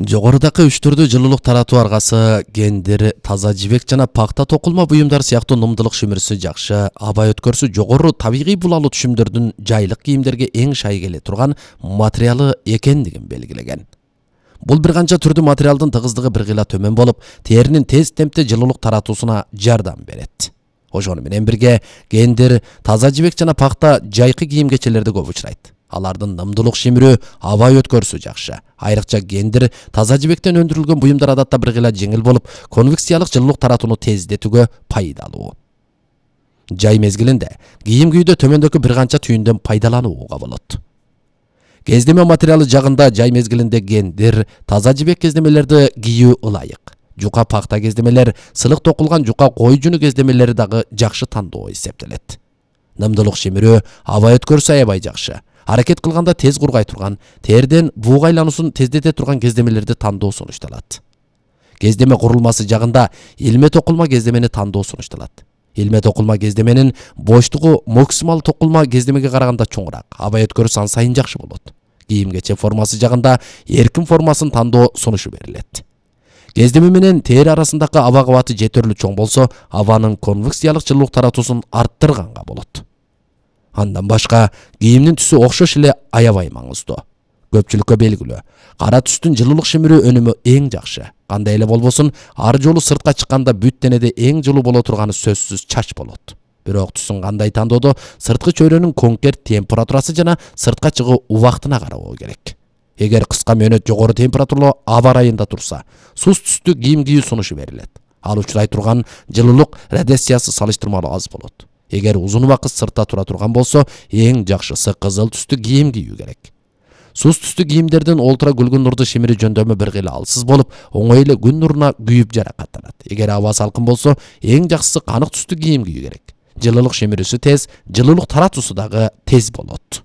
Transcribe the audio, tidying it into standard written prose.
Жогорудагы үч түрдүү жылуулук таратуу аргасы, гендер, таза жибек жана пакта токулма буюмдар сыяктуу нымдылык шимирүүсү жакшы, аба өткөрүүсү жогору табигый булалуу түшүмдөрдүн жайлык кийимдерге эң шай келе турган материалы экендигин белгилеген. Бул бир канча түрдүү материалдын тыгыздыгы бир кыйла төмөн болуп, теринин тез темпте жылуулук таратуусуна жардам берет. Ошону менен бирге гендер, таза жибек жана пакта жайкы кийим-кечелерде көп учурайт. Алардын нымдылык шимирүү, аба өткөрүүсү жакшы. Айрыкча гендер, таза жибектен өндүрүлгөн буюмдар адатта бир кыйла жеңил болуп, конвекциялык жылуулук таратууну тездетүүгө пайдалуу. Жай мезгилинде кийим кийүүдө төмөндөгү бир канча түйүндөн пайдаланууга болот. Кездеме материалы жагында жай мезгилинде гендер, таза жибек кездемелерди кийүү ылайык. Жука пакта кездемелер, сылык токулган жука кой жүнү кездемелери дагы жакшы тандоо эсептелет. Нымдылык шимирүү, аба өткөрүүсү аябай жакшы. Аракет кылганда тез кургай турган, терден бууга айлануусун тездете турган кездемелерди тандоо сунушталат. Кездеме курулмасы жагында илме токулма кездемени тандоо сунушталат. Илме токулма кездеменин боштугу максимал токулма кездемеге караганда чоңураак, аба өткөрүүсү ан сайын жакшы болот. Кийим-кече формасы жагында эркин формасын тандоо сунушу берилет. Кездеме менен тери арасындагы аба кабаты жетерлүү чоң болсо, абанын конвекциялык жылуулук таратуусун арттырганга болот. Андан башка, кийимдин түсү окшош эле аябай маңыздуу. Көпчүлүккө белгилүү, кара түстүн жылуулук шимирүү өнүмү эң жакшы. Кандай эле болбосун, ар жолу сыртка чыкканда бүт денеде эң жылуу боло турганы сөзсүз чач болот. Бирок түсүн кандай тандоодо сырткы чөйрөнүн конкрет температурасы жана сыртка чыгуу убактына карабоо керек. Эгер кыска мөөнөт жогору температуралуу аба ырайында турса, суз түстүү кийим кийүү сунушу берилет. Ал учурай турган жылуулук радиациясы салыштырмалуу аз болот. Эгер узун убакыт сыртта тура турган болсо, эң жакшысы кызыл түстүү кийим кийүү керек. Суз түстүү кийимдердин ультра күлгүн нурду шимири жөндөмү бир кыйла алсыз болуп, оңой эле күн нуруна күйүп жаракаттанат. Эгер аба салкын болсо, эң жакшысы канык түстүү кийим кийүү керек. Жылуулук шимирүүсү тез, жылуулук таратуусу дагы тез болот.